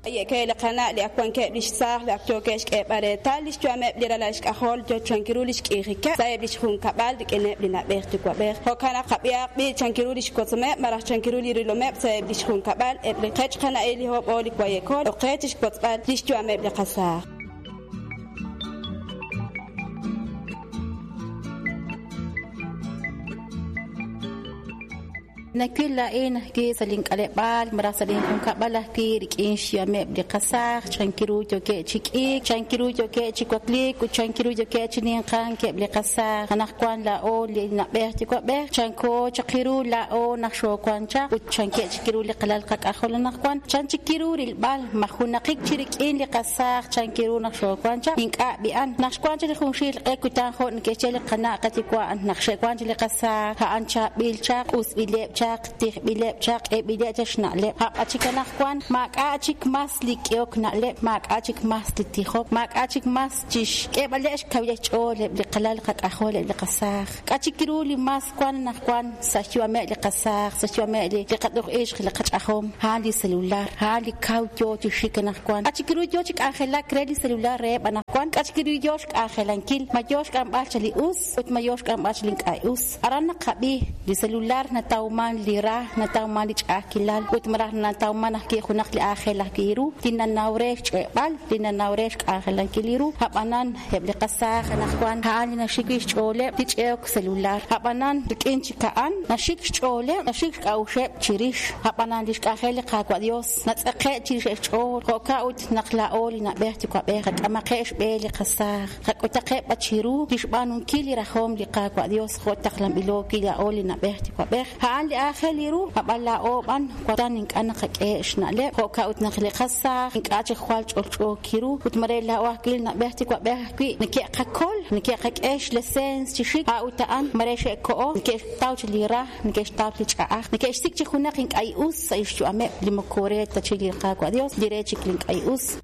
Ye'ke li qana' li ak wankeb' li xsaaj li ak yookeb' xk'eeb'al reetal li xyu'ameb' li ralal xk'ajol yo chank ru li xk'iijikeb' sa'eb' li xjunkab'al rik'ineb' li na'b'ej yuwa'b'ej. Jo'kan naq qab'ihaq b'i' chank ru li xwotzomeb' malaj chank ru li rilomeb' sa'eb' li xjunkab'al eb' li qech qana'il li hob'o li wayekol oqe chi xwotzb'al li xyu'ameb' li qasaaj. Nawil laa'in ajwi' sa' link'aleb'aal malaj sa' linjunkab'al ajwi' rik'in xyu'ameb' li qasaaj, chank ru yookeb' chi k'iik, chank ru yookeb' chi wakliik ut chank ru yookeb' chi ninqank eb' li qasaaj. Anaqwan laa'o li na'b'ej yuwa'b'ej chanko chaq ru laa'o naq xoowank chaq ut chankeb' chik ru li qalal qak'ajol anaqwan chan chik ru rilb'al ma junaqik chi rik'in li qasaaj chank ru naq xoowank chaq ink'a' b'i'an. Naq xwank chaq li junxil q'e kutan jo' neke'xye li qana' qayuwa' naq xe'wank chaq li qasaaj a'an chaab'il chaq, q'usb'ileb' chaq, tijb'ileb' chaq, k'eeb'ileb' chaq xna'leb'. Ab'an chik anaqwan maak'a' chik mas li k'ehok na'leb', maak'a' chik mas li tijok, maak'a' chik mas chi xk'eeb'aleb' xkawileb' xch'ool eb' li qalal qak'ajol, eb' li qasaaj. K'a' chik ru li mas wank anaqwan sa' xyu'ameb' li qasaaj, sa' xyu'ameb' li qat'uq ixq, li qach'ajom, a'an li celular, a'an li kaw yo chi xik anaqwan. K'a' chik ru yo chi k'anjelak re li celular reheb' anaqwan, k'a' chik ru yo xk'anjelankil, ma yo xk'amb'al chaq li us ut ma yo xk'amb'al chaq li ink'a' us. Aran naqab'i li celular natawman li ra, natawman li ch'a'ajkilal ut malaj natawman ajwi' junaq li aajel ajwi' ru li nanaw re xch'e'b'al, li nanaw re xk'anjelankil li ru. Ab'anan eb' li qasaaj anaqwan a'an li naxik wi' xch'ooleb' li ch'e'ok celular. Ab'anan rik'in chik a'an naxik xch'ooleb', naxik xk'a'uxeb' chirix. Ab'anan li xk'anjel li Qaawa' Dios natz'eqe' chirix xch'ool. Jo'kan ut naq laa'o li na'b'ej yuwa'b'ej qak'amaqeb' xb'e li qasaaj. Qak'utaqeb' b'an chiru li xb'aanunkil li rajom li Qaawa' Dios jo' taqlanb'ilo wi' laa'o li na'b'ej yuwa'b'ej. A'an li aajel ru, ab'an laa'o b'an wan ink'a' naqak'e xna'leb', jo'kan ut naq li qasaaj ink'a' chik jwal ch'olch'o kiru ut mare laa'o ajwi' li na'b'ej yuwa'b'ej ajwi' neke'qakol, neke'qak'e xleseens chi xik, a'ut a'an mare xe'koho, neke'xtaw chik li ra, neke'xtaw li ch'a'aj, neke'xsik' chik junaq ink'a' us sa' xyu'ameb' li moko re ta chik li Qaawa' Dios, li re chik li ink'a' us.